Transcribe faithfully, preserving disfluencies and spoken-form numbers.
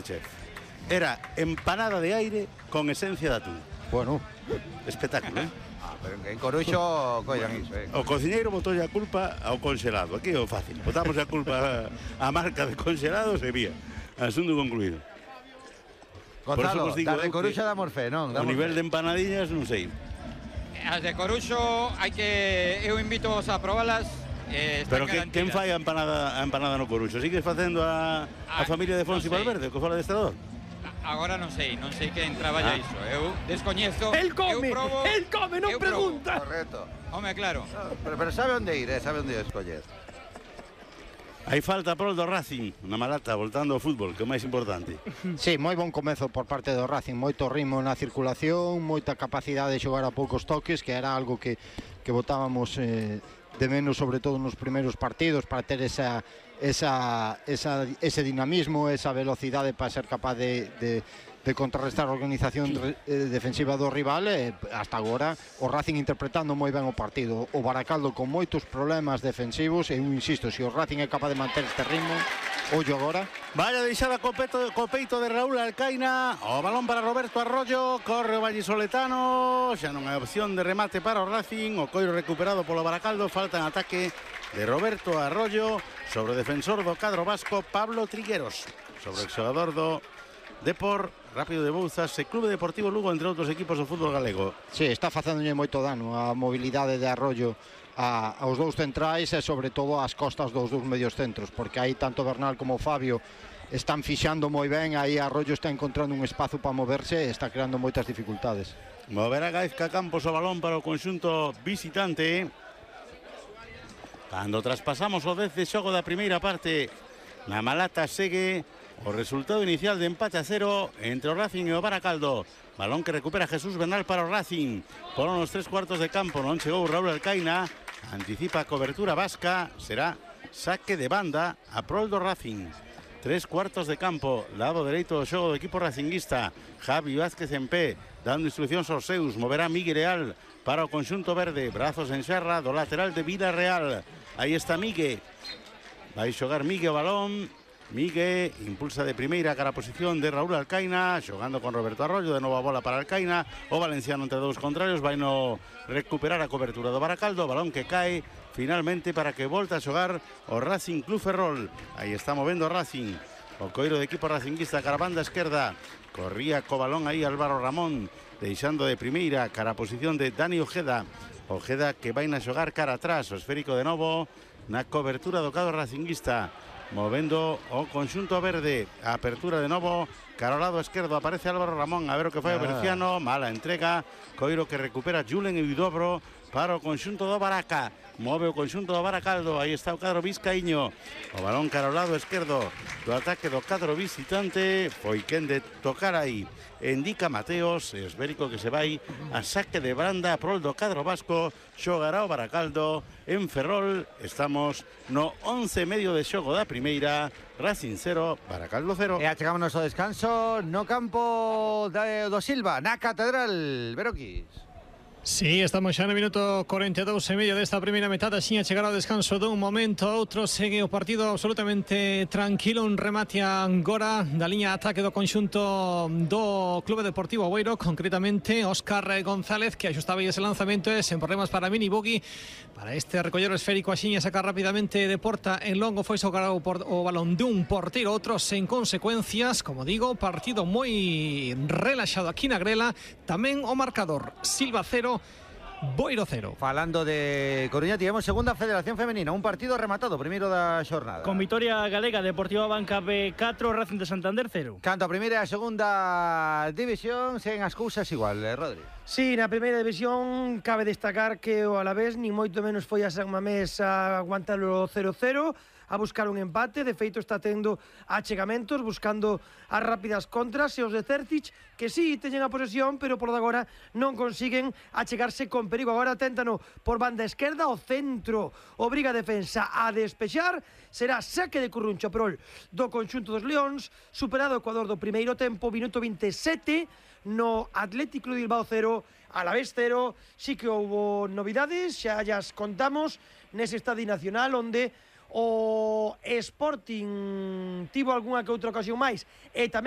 Chef. Era empanada de aire con esencia de atún. Bueno, espectáculo, ¿eh? Ah, pero en Coruxo collan iso, eh. O cociñeiro botou a culpa ao conxelado. Aquí é o fácil. Botamos a culpa a marca de conxelados e vía. Asunto concluído. Gonzalo, das de Coruxo damos fe, non? O nivel de empanadillas non sei. As de Coruxo hai que eu invito a probalas. Eh, Pero que, quen fai a empanada, a empanada no Coruxo? Sigues facendo a, a ah, familia de Fonsi no Valverde, que fora de estrador? Agora non sei, non sei quen traballa ah. iso. Eu descoñezo. El come, eu probo, el come, non pregunta. Probo. Correcto. Home, claro. No, pero, pero sabe onde ir, eh? Sabe onde escoller. Hai falta por do Racing, na Malata, voltando ao fútbol, que é o máis importante. Sí, moi bon comezo por parte do Racing, moito ritmo na circulación, moita capacidade de xogar a poucos toques, que era algo que, que botábamos eh, de menos, sobre todo nos primeiros partidos, para ter esa, esa, esa, ese dinamismo, esa velocidade para ser capaz de, de, de contrarrestar a organización eh, defensiva do rival. E hasta agora o Racing interpretando moi ben o partido, o Baracaldo con moitos problemas defensivos, e eu insisto, se o Racing é capaz de manter este ritmo, ollo agora. Vaya deixada co, peto, co peito de Raúl Alcaina, o balón para Roberto Arroyo, corre o vallisoletano, xa non hai opción de remate para o Racing, o coiro recuperado polo Baracaldo, falta en ataque de Roberto Arroyo sobre o defensor do cadro vasco Pablo Trigueros, sobre o xogador do Depor, Rápido de Bouzas e Clube Deportivo Lugo, entre outros equipos do fútbol galego. Sí, está facéndolle moito dano a mobilidade de Arroyo a, aos dous centrais e sobre todo ás costas dos dous medios centros, porque aí tanto Bernal como Fabio están fixando moi ben, aí Arroyo está encontrando un espazo para moverse e está creando moitas dificultades. Moverá Gaizka Campos o balón para o conxunto visitante. Cando traspasamos o dez de xogo da primeira parte, na Malata segue o resultado inicial de empate a cero entre o Racing e o Baracaldo. Balón que recupera Jesús Bernal para o Racing. Por unos tres cuartos de campo non chegou Raúl Alcaina. Anticipa a cobertura vasca. Será saque de banda a prol do Racing. Tres cuartos de campo, lado dereito do xogo do equipo racinguista. Javi Vázquez en pé, dando instruccións aos seus. Moverá Miguel Real para o conxunto verde. Brazos en xerra do lateral de Vida Real. Aí está Miguel. Vai xogar Miguel o balón. Miguel impulsa de primeira cara a posición de Raúl Alcaina, xogando con Roberto Arroyo, de novo a bola para Alcaina, o valenciano entre dous contrarios, vai no recuperar a cobertura do Baracaldo, balón que cae finalmente para que volta a xogar o Racing Club Ferrol. Aí está movendo o Racing, o coiro de equipo racinguista cara a banda esquerda, corría co balón aí Álvaro Ramón, deixando de primeira cara a posición de Dani Ojeda, Ojeda que vai na xogar cara atrás, o esférico de novo na cobertura do cadro racinguista. Movendo o conxunto verde, a apertura de novo, cara ao lado esquerdo aparece Álvaro Ramón, a ver o que fai o Berciano, mala entrega, coiro que recupera Julen e Udobro para o conxunto do Baraca, move o conxunto do Baracaldo, aí está o cadro vizcaíño, o balón cara ao lado esquerdo do ataque do cadro visitante, foi quen de tocar aí, indica Mateos, esférico que se vai a saque de banda a prol do cadro vasco, xogará o Baracaldo en Ferrol. Estamos no once e medio de xogo da primeira, Racing cero, Baracaldo cero. E achegámonos ao descanso no campo de, do Silva, na Catedral, Veroquis. Sí, estamos xa no minuto cuarenta e dous e medio desta primeira metade, sin a chegar ao descanso dun momento a outro. Segue o partido absolutamente tranquilo, un remate agora da liña de ataque do conxunto do Clube Deportivo Oveiro, concretamente Óscar González, que axustaba ese lanzamento e sen problemas para Mini Bugui, para este recollero esférico axiña sacar rapidamente de porta en longo, foi xogar o, o balón dun porteiro, outro sen consecuencias. Como digo, partido moi relaxado aquí na grela, tamén o marcador Silva cero, Boiro cero. Falando de Coruña, tivemos segunda Federación Femenina, un partido rematado, primeiro da xornada. Con vitoria galega, Deportiva Banca B catro, Racing de Santander cero. Canto a primeira e a segunda división, sen as cousas igual, eh, Rodri. Sí, na primeira división cabe destacar que o Alavés ni moito menos foi a San Mamés a aguantar o cero cero, a buscar un empate. De feito está tendo achegamentos, buscando as rápidas contras, e os de Certic, que sí, teñen a posesión, pero por de agora non consiguen achegarse con perigo. Agora téntano por banda esquerda, o centro obriga a defensa a despexar, será saque de Curruncho prol do conxunto dos Leóns, superado o Ecuador do primeiro tempo, minuto vinte e sete, no Atlético de Bilbao cero, Alavés cero. Sí que houbo novidades, xa llas contamos nese estadio nacional, onde o Sporting tivo algunha que outra ocasión máis e tamén